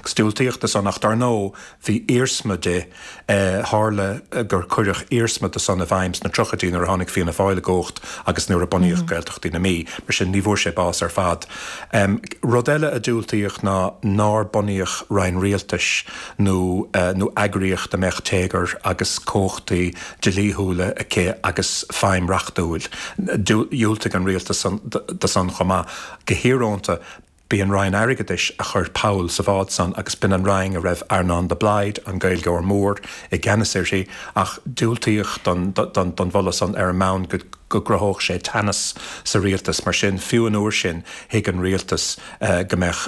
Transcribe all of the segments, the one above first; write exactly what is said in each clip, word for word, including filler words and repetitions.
Agus diúltaíodh do san ach dar ndóigh bhí iarsma de tharla gur cuireadh iarsma de san i bhfeidhm sna tríochaidí nuair a tháinig Fianna Fáil i gcumhacht agus nuair a bunaíodh Gaeltachtaí na Mí. Mar sin ní bhfuair sé bás ar fad. Rud eile a diúltaíodh ná nár bunaíodh roinn rialtais nó nó eagraíocht a mbeadh téagar agus cumhachtaí dlíthiúla aici agus feidhm reachtúil. Dhiúltaigh an rialtas do san chomh maith. Go híorónta, b'í an Roinn Airgeadais a chuir poll sa bhád san agus b'in an Roinn a raibh Earnán de Blaghd, an Gaeilgeoir mór, i gceannas uirthi, ach diúltaíodh don don mholadh san ar an mbonn go go gcruthódh sé teannas sa rialtas. Mar sin, fiú an uair sin, thuig an rialtas go mbeadh,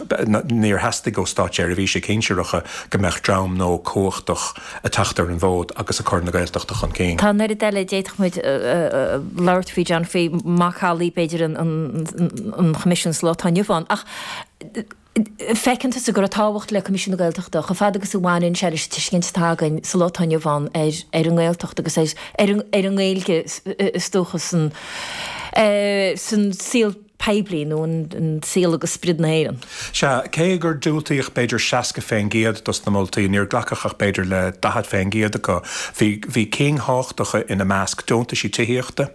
níor theastaigh ó státseirbhísigh shinsearacha go mbeadh dream nua cumhachtach ag teacht ar an bhfód agus ag cur na Gaeltachta chun cinn. Tá an oiread eile a d'fhéadfadh muid labhairt faoi, John, faoi macallaí, b'fhéidir, an Choimisiúin sa lá atá inniu ann. Ach feiceann tusa go raibh tábhacht le Coimisiún na Gaeltachta chomh fada agus a bhaineann sé leis an tuiscint atá againn sa lá atá inniu ann ar ar an nGaeltacht agus ar ar ar an nGaeilge is dócha san san saol poiblí nó an saol agus sprid na hÉireann. Sea, cé gur diúltaíodh b'fhéidir seasca fén gcéad dos na moltaí, níor glacadh ach b'fhéidir le daichead fén gcéad acu. Bhí bhí cinn thábhachtacha ina measc, deontaisí tithíochta,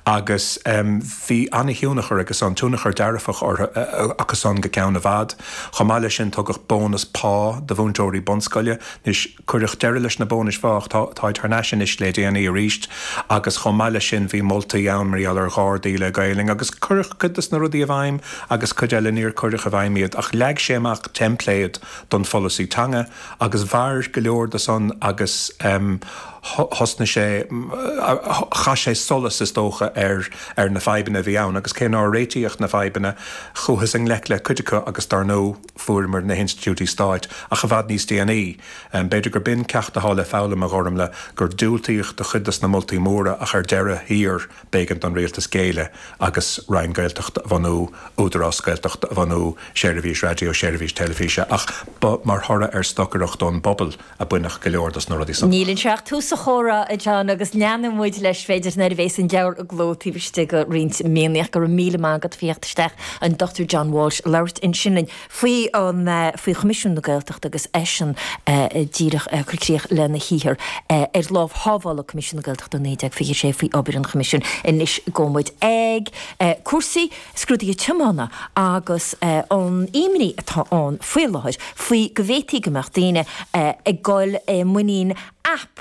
agus bhí an-thionchar aige san, tionchar dearfach orthu acu san go ceann i bhfad. Chomh maith leis sin tugadh bónas pá do mhúinteoirí bunscoile. Anois, cuireadh deireadh leis na bónais phá ach tá, táid thar n-ais anois le déanaí arís agus chomh maith leis sin bhí moltaí ann mar gheall ar ghardaí le Gaelainn agus cuireadh cuid des na rudaí i bhfeidhm agus cuid eile níor cuireadh i bhfeidhm iad ach leag sé amach teimpléad don pholasaí teanga agus mhair go leor de san agus thosnaigh sé, chaith sé solas is dócha ar ar na fadhbanna a bhí ann agus cé nár réitíodh na fadhbanna, chuathas i ngleic le cuid acu agus dar ndóigh fuaireamar na hinstitiúidí stáit ach i bhfad níos déanaí. B'fhéidir gur b'in ceacht atá le foghlaim, a Ghormlaith, gur diúltaíodh do chuid des na moltaí móra ach ar deireadh thiar b'éigean don rialtas géilleadh agus Roinn Gaeltachta a bhunú, Údarás Gaeltachta a bhunú, seirbhís raidió, seirbhís teilifíse ach ba mar thoradh ar stocaireacht ón bpobal a baineadh go leor dos na rudaí san. Níl anseo ach tús an chomhrá, a John, agus leanfaidh muid leis, b'fhéidir, nuair a bheas an leabhar i gcló taobh istigh de roinnt míonna. Ach go raibh míle maith agat faoi theacht isteach, an Dochtúir John Walsh, labhairt ansin linn faoi an, faoi Choimisiún na Gaeltachta agus eisean díreach ag cur críoch lena shaothar ar lámh shábháladh Coimisiún na Gaeltachta naoi déag fiche sé faoi obair an Choimisiúin. Anois gabhfaidh muid ag cúrsaí scrúduithe tiomána agus an imní atá ann faoi láthair faoi go bhféadfaí go mbeadh daoine ag dul i muinín aip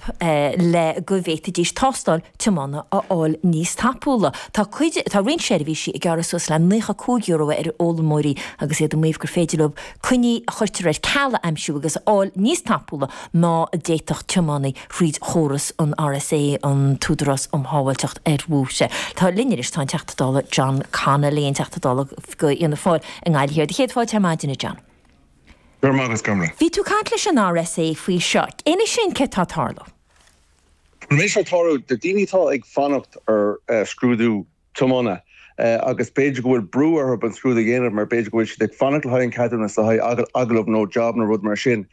le go bhféadfaidís tástáil tiomána a fháil níos tapúla. Tá cuid, tá roinnt seirbhísí ag gearradh suas le naocha cúig euro ar fhoghlaimeoirí agus iad ag maíomh gur féidir leo coinní a chuirtear ar ceal a aimsiú agus a fháil níos tapúla ná a d'fhéadfadh tiománaí fríd chóras an RSA, an tÚdarás um Shábháilteacht ar Bhóithre. Tá linn anois, tá an Teachta Dála John Connolly, an Teachta Dála do Fhianna Fáil i nGaillimh Thiar. Céad fáilte ar maidin, a John. Go raibh maith agat, Gormlaith. Bhí tú ag caint leis an RSA faoi seo. Inis dúinn céard atá ag tarlú. An méid seo ag tarlú do daoine atá ag fanacht ar scrúdú tiomána agus b'fhéidir go bhfuil brú orthu an scrúdú a dhéanamh mar b'fhéidir go bhfuil siad ag fanacht le haghaidh an ceadúnas le haghaidh agallamh nó job nó rud mar sin.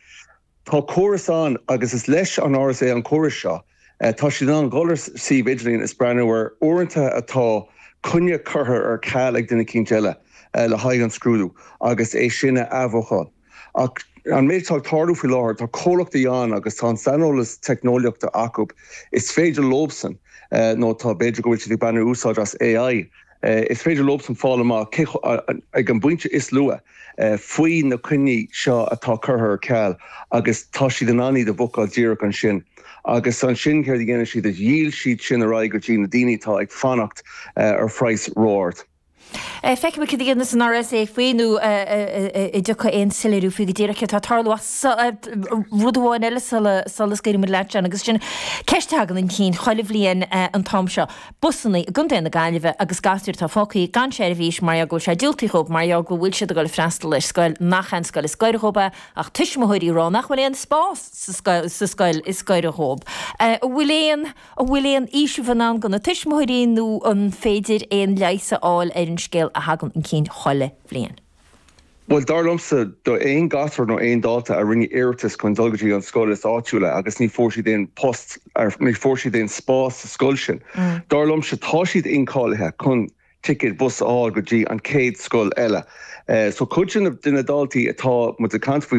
Tá córas ann agus is leis an RSA an córas seo. Tá siad in ann dul ar suíomh idirlín is breathnú ar uaireanta atá coinne curtha ar ceal ag duine eicínt eile le haghaidh an scrúdú agus é sin a athbhookáil. Ach an méid atá ag tarlú faoi láthair, tá comhlachtaí ann agus tá an saineolas teicneolaíochta acu, is féidir leobsan, nó tá, b'fhéidir go bhfuil siad ag baint úsáid as AI, is féidir leobsan fáil amach cé, ag an bpointe is luath, faoi na coinní seo atá curtha ar ceal agus tá siad in ann iad a bhookáil díreach ansin. Agus ansin céard a dhéanann siad is dhíol siad sin ar aghaidh go dtí na daoine atá ag fanacht ar phraghas ró-ard. Feicfidh muid cad a dhéanfas an RSA faoi nó an dtiocfaidh aon soiléiriú faoi go díreach céard atá ag tarlú. Ach rud amháin eile sula scaoilfidh muid leat, John, agus sin ceist a thagann chun cinn chuile bhliain an t-am seo, busanna i gContae na Gaillimhe agus gasúir atá fágtha gan seirbhís mar gheall go bhfuil sé diúltaithe dhóibh, mar gheall go bhfuil siad ag dul ag freastal ar scoil nach é an scoil is gaire dhóibh é, ach tuismitheoirí ag rá nach bhfuil aon spás sa scoil is gaire dhóibh. An bhfuil aon. An bhfuil aon fhaoiseamh i ndán do na tuismitheoirí nó an féidir aon leigheas a fháil ar an scéal a thagann chun cinn chuile bhliain? Bhuel, dar liomsa, do aon ghasúr nó aon dalta a rinne iarratas chun dul go dtí an scoil is áitiúla agus ní fuair siad aon post, ní fuair siad aon spás sa scoil sin, dar liomsa, tá siad incháilithe chun ticéad bus a fháil go dtí an chéad scoil eile. So cuid de na daltaí atá muid ag caint faoi